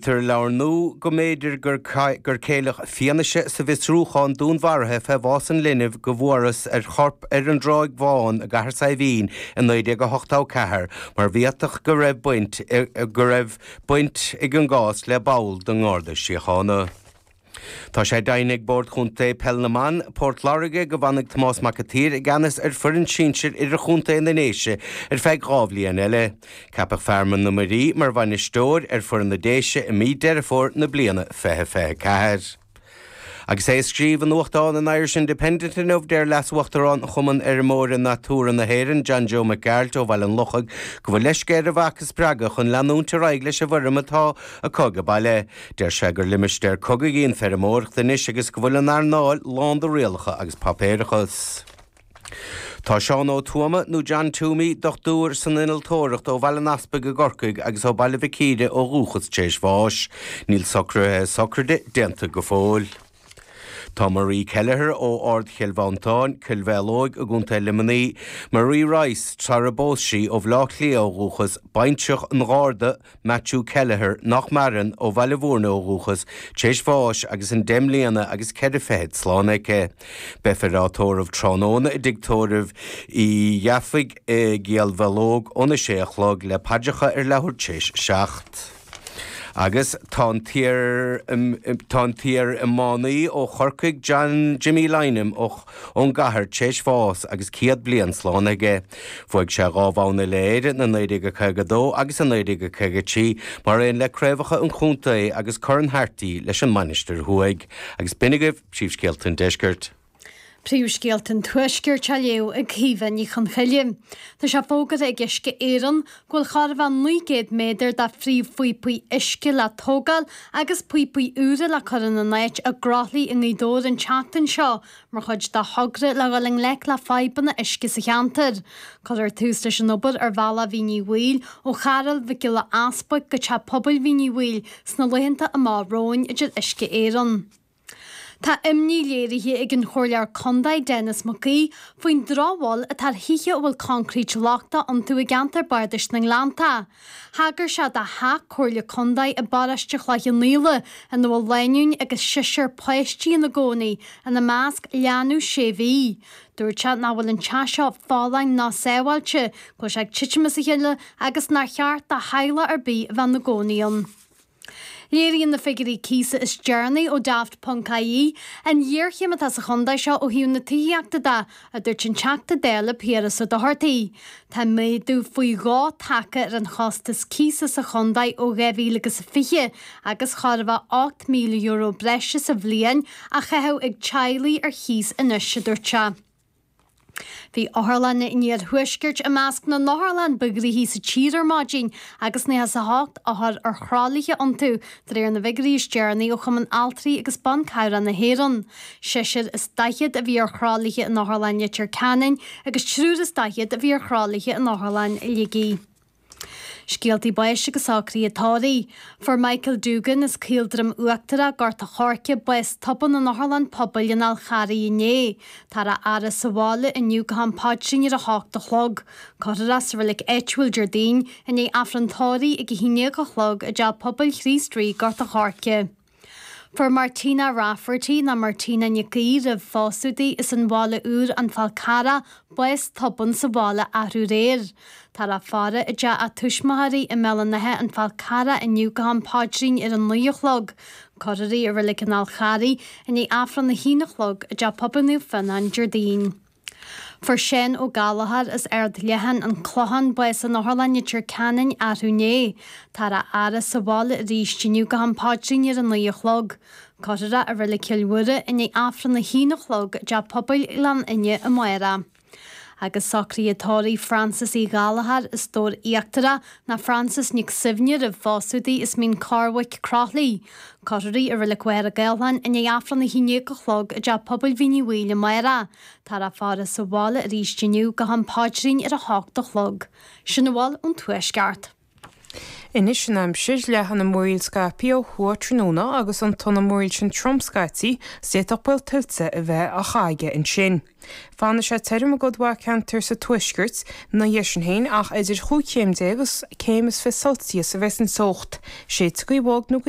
Deimhnítear i leabhar nua go mb'fhéidir gur gur céilíodh fianaise sa bhfiosrúchán dúnmharaithe fé bhás an linbh go bhfuarthas a chorp ar an dTráigh Bhán i gCathair Saidhbhín i 1984 mar bhféadfadh go raibh baint go raibh baint ag an gcás le ball den nGarda Síochána. Tá sé deimhnithe ag Bord Chontae Peil na mBan, Port Láirge, go bhfanfaidh Tomás Mac an tSaoir i gceannas ar foireann sinsir idirchontae na nDéise ar feadh 2 bhliain eile. Ceapadh Fearmann na Muirí mar bhainisteoir ar foireann na Déise i mí Deireadh Fómhair na bliana 2024. Agus é ag scríobh i nuachtán an Irish Independent inniu, deir Leas-Uachtarán Chumann Fheirmeoirí Natura na hÉireann, John Joe Mac Gearailt ó Bhaile an Lochaigh, go bhfuil leisce ar an mhac a spreagadh chun leanúint ar aghaidh leis an bhfeirm atá acu age baile. Deir sé gur limistéar cogaidh í an feirmeoireacht anois agus go bhfuil an earnáil lán de rialacha agus páipéarachas. Tá Seán Ó Tuama, nó John Toomey, dochtúir san innealtóireacht ó Bhaile an Easpaig i gCorcaigh agus ó Baile Mhic Íre ó dhúchas tar éis bháis. Níl socruithe sochraide déanta go fóill. Tá Marie Kelleher ó Ard Chill Mhantáin, Cill Mhaolóig i gContae Luimnigh, Marie Rice, sara bpós sí, ó Bhaile Átha Cliath ó dhúchas, baintreach an Gharda, Matthew Kelleher, nach maireann, ó Bhaile Mhúirne ó dhúchas, tar éis bháis agus an deich mbliana agus ceithre fichid slán aici. Beifear á tórramh tráthnóna i dtigh tórraimh Uí Dhufaigh i gCill Mhaológ óna sé a chlog le paidreacha ar leathuair tar éis a 7. Agus tá an t-iar tá an t-iar-iománaí ó Chorcaigh John Jimmy Lynam ó ón gcathair tar éis bháis agus 100 bliain slán aige. Bhuaigh sé dhá bhonn Uile-Éireann i 1952 agus i 1953 mar aon le craobhacha an chontae agus Corn Harty leis an Mainistir Thuaidh. Agus b'in agaibh príomhscéalta an deiscirt. Príomhscéalta an Tuaiscirt á léamh ag Caoimhe Ní Chonchoille. Tá sé fógartha ag Uisce Éireann go bhfuil chóir a bheith 900 méadar de phríomhphíopaí uisce le tógáil agus píopaí úra le cur ina n-áit i gCroithlí i nGaoth Dobhair an tseachtain seo mar chuid de thogra le dhul i ngleic le fadhbanna uisce sa cheantar. Cuirfear tús leis an obair ar bhealach Mhín Uí Bhaoill ó Charúl Mhic Giolla Easbuig go Teach Pobail Mhín Uí Bhaoill sna laethanta amach romhainn, a deir Uisce Éireann. Tá imní léirithe ag an Chomhairleoir Contae Denis Mac Aoidh faoin drochbhail atá ar thithe a bhfuil coincréit lochtach iontu i gceantar Bardais na nGleanntach. Thagair sé do theach Comhairle Contae i bparóiste Chloich Cheann Fhaola ina bhfuil lánúin agus seisear páistí ina gcónaí, ina measc leanbh sé mhí. Dúirt sé nach bhfuil an teach seo folláin ná sábháilte, go bhfuil sé ag titim as a chéile agus nár cheart do theaghlach ar bith a bheith ina gcónaí ann. Léiríonn na figiúirí cíosa is deireanaí ó Daft ponc ie an ghéarchéim atá sa chontae seo ó thaobh na tithíochta de, a dúirt an Teachta Dála Piaras Ó Dochartaigh. Tá méadú faoi dhó tagtha ar an chostas cíosa sa chontae ó 2020 agus chóir a bheith €8,000 breise sa bhliain á chaitheamh ag teaghlaigh ar chíos anois, a dúirt sé. Bhí otharlanna an iarthuaiscirt i measc na n-otharlann ba ghnoithí sa tír ar maidin agus 98 othar ar thralaithe iontu, de réir na bhfigiúirí is deireanaí ó Chumann Altraí agus Ban Cabhrach na hÉireann. Seisear is daichead a bhí ar thralaithe in Otharlann Leitir Ceanainn agus triúr is daichead a bhí ar thralaithe in Otharlann Shligigh. Scéaltaí báis agus socruithe tórraimh. Fuair Michael Doogan as Caoldroim Uachtarach, Gort a' Choirce, bás tobann in Otharlann Pobail an Fháil Charraigh inné. Táthar á fhaire sa bhaile inniu go ham paidrín ar a hocht a chlog. Cuirfear é sa reilig áitiúil Déardaoin i ndiaidh Aifreann tórraimh ag a haon déag a chlog i dTeach Pobail Chríost Rí, Gort a' Choirce. Fuair Martina Rafferty, nó Martina Nic Aoidh roimh phósadh di, as an Bhaile Úr, An Fál Carrach, bás tobann sa bhaile arú aréir. Táthar á faire i dteach a tuismitheoirí i mBéal an Átha, An Fál Carrach inniu go ham paidrín ar a naoi a chlog. Cuirfear í i Reilig an Fháil Charraigh i ndiaidh Aifreann a haon a chlog i dTeach Pobail Naomh Fionnán Déardaoin. Fuair Seán Ó Gallchóir as Ard Leatháin, An Clochán, bás in Otharlann Leitir Ceanainn arú inné. Táthar á fhaire sa bhaile arís inniu go ham paidrín ar a naoi a chlog. Cuirfear é i Reilig Chill Mhuire i ndiaidh Aifreann a haon a chlog i dTeach Pobail Ghleann Fhinne amárach. Agus socruithe tórraimh Frances Uí Ghallchóir as Dobhar Íochtarach ná Frances Nic Suibhne roimh phósadh di as Mín Corrbhaic, Croithlí. Cuirfear í i Reilig Mhachaire Gathlán i ndiaidh Aifreann a haon déag a chlog i dTeach Pobail Mhín Uí Bhaoill amárach. Táthar á faire sa bhaile arís inniu go ham paidrín ar a hocht a chlog. Sin a bhfuil ón Tuaisceart. Anois an aimsir, leathfaidh na múraíl scaipthe ó thuaidh tráthnóna agus tiontóidh na múraíl sin trom scaití 's d'fhéadfadh baol tuilte a bheith á chaitheamh ansin. Fanfaidh sé tirim i gcuid mhaith ceantar sa tuaisceart ina dhiaidh sin féin ach idir chúig chéim déag agus céim is 20 Celsius a bheas an teocht. Séidfidh gaoth bhog nó gaoth.